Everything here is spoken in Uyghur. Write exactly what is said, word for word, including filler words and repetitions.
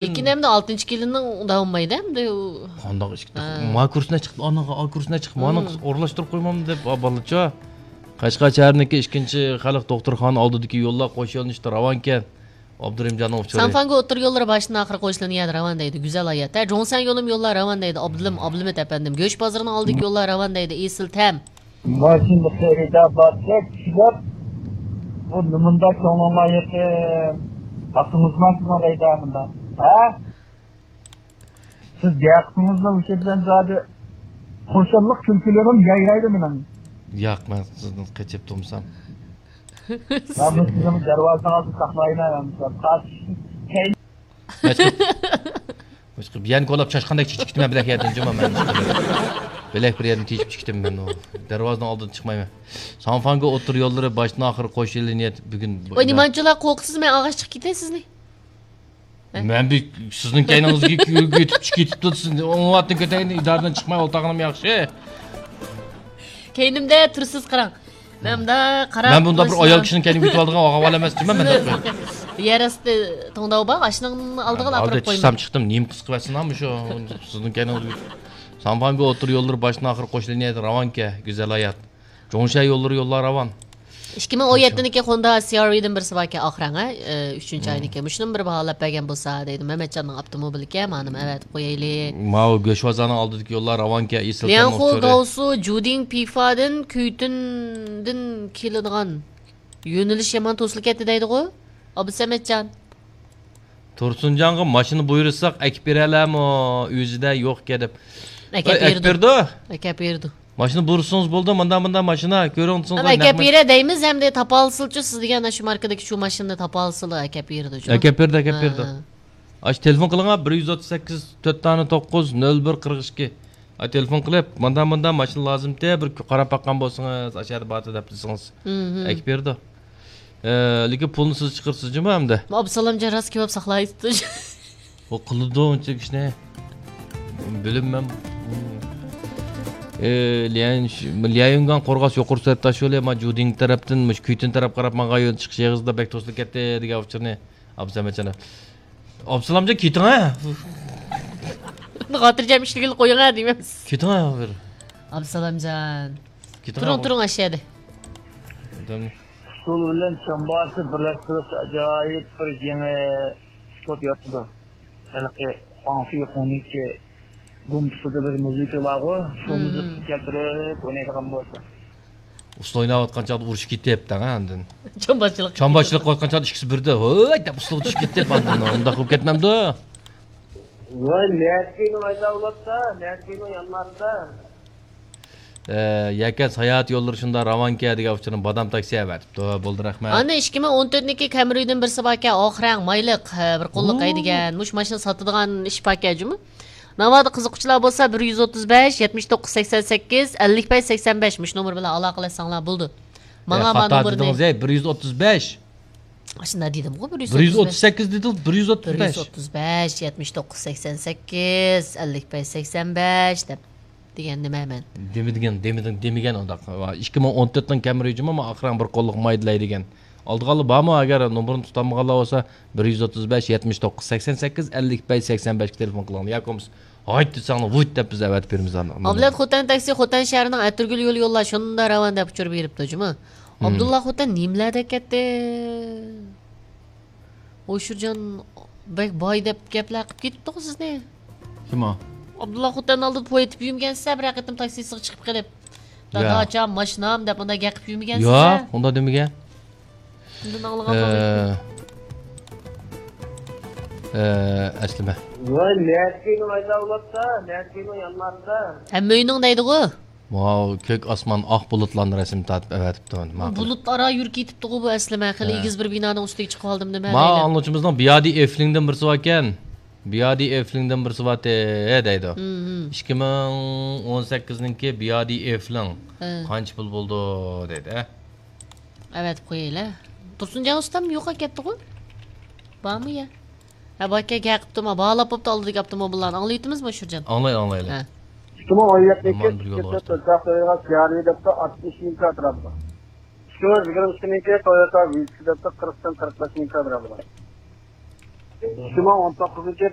ئىككى نەمدە ئالتىنچى كىلىنىڭ داۋامىدا ئەمدى ئۇ. قانداق ئىككى؟ ھە. ما كۇرسنى چىقتى، ئانا ئا كۇرسنى چىقتى، مانا ئورۇنلاشتۇرۇپ قويمامدۇ دەپ بالىچۇ. قەشقەر شەھىرىنىڭكى ئىككىنچى خەلق دوختۇرخانا ئالدىدىكى يوللار قوش يۆنىلىشتە راۋانكەن. ئابدۇرېھىمجاننىڭ ئۇچۇرى. سانفاڭگو ئوتتۇرا يوللىرى باشتىن ئاخىر قوشۇلىدىغان يەردە راۋان دەيدۇ. گۈزەل ھايات. ھە، جۇڭسەن يولۇم يوللار راۋان دەيدۇ. ئابدۇلىم، ئابلىمىت ئەپەندىم. گۆش بازىرىنىڭ ئالدىدىكى يوللار راۋان دەيدۇ. ئېسىل تەم. ماشىنا خېرىدار بارسا چۈشۈرۈپ، بۇ نېمانداق كۆڭلۈڭلار يېقىن؟ ھەققىڭىزمۇ سىزنىڭ دەيدۇ مۇنداق. ھە؟ سىز گەپىڭىزنى ئۇشۇ بىلەن زادى خۇرسەنلىك كۈلكىلىرىم يايرايدۇ مېنىڭ. ياق، مەن سىزدىن قېچىپ تۇرمىسام. مەن بۇ سىزنىڭ دەرۋازىڭىزنى ساقلايمەن، قاچ. مەشقىپ. مەشقىپ. يەنە كولاپ چاشقاندەك چېچىپ كېتىمەن بىلەك يەردىن جۇما مەن. بىلەك بىر يەردىن تېشىپ چىقتىم مەن ئۇ. دەرۋازىنىڭ ئالدىدىن چىقمايمەن. سانفاڭگو ئوتتۇرا يوللىرى باشتىن ئاخىر قوش يۆنىلىش بۈگۈن. ۋاي، نېمانچىلار قورقىسىز، مەن ئاغاچ چىقىپ كېتەي سىزنى. مەن بىر سىزنىڭ كەينىڭىزگە كۆ-، كۆتۈپ چىقىپ كېتىپتۇ، سىزنى ئوڭ ۋاقىتتا كۆتەيلى، ئىدارىدىن چىقماي ئولتۇرغىنىم ياخشى. كەينىمدە تۇرسىز قاراڭ. مەن مۇنداق قاراپ مەن بۇنداق بىر ئايال كىشىنىڭ كەينىگە كۆتۈۋالىدىغان ئاۋۋال ئەمەس جۇما مەن. يەر ئاستى توڭداۋ بار، ئاشۇنىڭ ئالدىغىلا ئاپىرىپ قويىمەن. چىقسام چىقتىم، نېمە قىلسا قىلىۋەتسۇن، مۇشۇ سىزنىڭ كەينىڭىزگە. سانفاڭگو ئوتتۇرا يوللىرى باشتىن ئاخىر قوش لىنىيەدە راۋانكەن، گۈزەل ھايات. جۇڭشەن يوللىرى يوللار راۋان. ئىككى مىڭ ئون يەتتىنىڭكى خوندا سى ئار ۋىدىن بىرسى باركەن، ئاخىرەڭ، ھە؟ ئۈچىنچى ئاينىڭكى. مۇشۇنىمۇ بىر باھالاپ بەرگەن بولسا دەيدۇ. مەمەتجاننىڭ ئاپتوموبىلىكەن، مانىمۇ ئەۋەتىپ قويايلى. ماۋۇ گۆشۋازارنىڭ ئالدىدىكى يوللار راۋانكەن، ئېسىل. لياڭخۇ گاۋسۇ جۇدىڭ پىفادىن كۈيتۈندىن كېلىدىغان يۆنىلىش يامان توسۇلۇپ كەتتى دەيدىغۇ، ئابدۇسەمەتجان. تۇرسۇنجانغا ماشىنا بۇيرۇساق ئەكىپ بېرەلەرمۇ؟ ئۆزىدە يوقكەن دەپ. ئەكەپ بېرىدۇ. ئەكەپ بېرىدۇ. ماشىنا بۇيرۇسىڭىز بولدى، مانداق مانداق ماشىنا كۆرۈڭ دېسىڭىز. ئەكەپ بېرە دەيمىز ھەمدە تاپالىسىلىچۇ سىز دېگەن شۇ ماركىدىكى شۇ ماشىنىنى تاپالىسىلا ئەكەپ بېرىدۇ. ئەكەپ بېرىدۇ، ئەكەپ بېرىدۇ. ئاشۇ تېلېفون قىلىڭا، بىر يۈز ئوتتۇز سەككىز، تۆت دانە توققۇز، نۆل بىر، قىرىق ئىككى. ئاي، تېلېفون قىلىپ، ماندا ماندا ماشىنا لازىمتى، بىر قاراپ باققان بولسىڭىز، ئاشۇ يەردە بارتى دەپ دېسىڭىز، ئەكىپ بېرىدۇ. ئە، لېكىن پۇلنى سىز چىقىرىسىز جۇمۇ ئەمدى. ئابدۇسالامجان راست كېۋاپ ساقلايسىز. ئۇ قىلىدۇ ئۇنچە ئىشنى. بىلىمەن. ئە، ليەن-، ليەيۈنگان قورغاس يۇقىرى سۈرئەت تاش يولى، ما جۇدىڭ تەرەپتىن، مۇشۇ كۈيتۈن تەرەپ قاراپ ماڭغان يول چىقىش ئېغىزىدا بەك توسۇلۇپ كەتتى دېگەن ئۇچۇرنى ئابدۇسالامجان. ئابدۇسالامجان، كېتىڭە. خاتىرجەم ئىشلىگىلى قويۇڭە دېمەمسىز. كېتىڭە بىر. ئابدۇسالامجان. كېتىڭە. تۇرۇڭ، تۇرۇڭ ئاشۇ يەردە. ئۇسسۇل بىلەن چامباسى بىرلەشتۈرۈلسە ئاجايىپ بىر يېڭى ئۇسلۇب يارىتىدۇ. ھېلىقى خۇاڭفېي خۇڭنىڭكى گۇمپىسىدا بىر مۇزىكا بارغۇ، شۇ مۇزىكىنى كەلتۈرۈپ ئوينايدىغان بولسا. ئۇسسۇل ئويناۋاتقان چاغدا ئۇرۇشۇپ كېتىپ، ھە، ئاندىن. چامباشچىلىق. چامباشچىلىق قىلىۋاتقان چاغدا ئىككىسى بىردە، ھوي دەپ ئۇسسۇلغا چۈشۈپ كېتىپ، ئاندىن ئۇنداق بولۇپ كەتمەمدۇ؟ ۋاي، نەتكىنىڭ ئايدا بولۇپتا، نەتكىنىڭ يانماستا. ئە، يەكەن ساياھەت يوللىرى شۇنداق راۋانكەن دېگەن ئۇچۇرنى بادام تاكسى ئەۋەتىپتۇ. بولدى، رەھمەت. ئاندىن ئىككى مىڭ ئون تۆتنىڭكى كەمرىدىن بىرسى باركەن، ئاخىرەڭ مايلىق، ھە، بىر قوللۇق ھەيدىگەن. مۇشۇ ماشىنا ساتىدىغان ئىش باركەن جۇمۇ. ناۋادا قىزىققۇچىلار بولسا، بىر يۈز ئوتتۇز بەش، يەتمىش توققۇز، سەكسەن سەككىز، ئەللىك بەش، سەكسەن بەش، مۇشۇ نومۇر بىلەن ئالاقىلەشسەڭلار بولىدۇ. ماڭا ما نومۇرنى. خاتا دېدىڭىز، ھەي، بىر يۈز ئوتتۇز بەش. ئاشۇنداق دېدىمغۇ، بىر يۈز ئوتتۇز بەش. بىر يۈز ئوتتۇز سەككىز دېدىڭىز، بىر يۈز ئوتتۇز بەش. بىر يۈز ئوتتۇز بەش، يەتمىش توققۇز، سەكسەن سەككىز، ئەللىك بەش، سەكسەن بەش دەپ دېگەن نېمە مەن؟ دېمىدىگەن، دېمىدىڭ، دېمىگەن ئۇنداق. ئىككى مىڭ ئون تۆتنىڭ كەمرى جۇمۇ، ئاخىرىڭ بىر قوللۇق مايدىلاي دېگەن. ئالىدىغانلار بارمۇ؟ ئەگەر نومۇرنى تۇتالمىغانلار بولسا، بىر يۈز ئوتتۇز بەش، يەتمىش توققۇز، سەكسەن سەككىز، ئەللىك بەش، سەكسەن بەشكە تېلېفون قىلىڭلار. ياكى بولمىسا، ھايت دېسەڭلار، ۋۇيت دەپ بىز ئەۋەتىپ بېرىمىز ئاندىن. ئابلەت خوتەن تاكسى خوتەن شەھىرىنىڭ ئەتىرگۈل يولى يوللار شۇنداق راۋان دەپ ئۇچۇر بېرىپتۇ جۇمۇ. ئابدۇللا خوتەن نېمىلەردە كەتتى؟ ھوشۇرجان بەك باي دەپ گەپلەر قىلىپ كېتىپتىغۇ سىزنى. كىم ئۇ؟ ئابدۇللا خوتەن ئالدىدا پوي ئېتىپ يۈرمىگەنسىز بىر قېتىم تاكسىسىغا چىقىپ قېلىپ. يا. داداجان، ماشىنام دەپ مۇنداق گەپ قىلىپ يۈرمىگەنسىز. ياق، ئۇنداق دېمىگەن. ئۇندىن ئاڭلىغان ئە، ئە، ئەسلىمە. ۋاي، نەتكىنىڭ ئايدا بولۇپتا، نەتكىنىڭ يانماستا. ھەممە ئۆينىڭ دەيدىغۇ. ۋاۋ، كۆك ئاسمان ئاق بۇلۇتلارنى رەسىم تارتىپ ئەۋەتىپتۇ. ماقۇل. بۇلۇت ئارا يۈرۈپ كېتىپتىغۇ بۇ ئەسلىمە. خېلى ھە. ئېگىز بىر بىنانىڭ ئۈستىگە چىقىۋالدىم نېمە ما دەيلى. ئاڭلىغۇچىمىزنىڭ بىيادى ئېفلىڭدىن بىرسى باركەن. بىيادى ئېفلىڭدىن بىرسى بارتى دەيدۇ. ھىم، ھىم. ئىككى مىڭ ئون سەككىزنىڭكى بىيادى ئېفلىڭ. ھە. قانچە پۇل بولدى دەيدۇ، ھە؟ ئەۋەتىپ قويايلى. تۇرسۇنجان ئۇستام يوقاپ كەتتىغۇ. بارمۇ يا؟ ھە، باركەن، گەپ قىپتۇ، ما باھالاپ بوپتۇ ئالدىدىكى ئاپتوموبىللارنى. ئاڭلاۋېتىمىزمۇ، شۇرجان؟ ئاڭلايلى، ئاڭلايلى. ھە. ئىككى مىڭ ئون يەتتىنچى ئىككى يۈز تۆت سەككىز دەپتۇ، ئاتمىش مىڭ كاترا بار. ئىككى مىڭ يىگىرمە ئىككىنىڭكى تويوتا ۋىتس دەپتۇ، قىرىقتىن قىرىق بەش مىڭ كاترا بار. ئىككى مىڭ ئون توققۇزىنچى يىل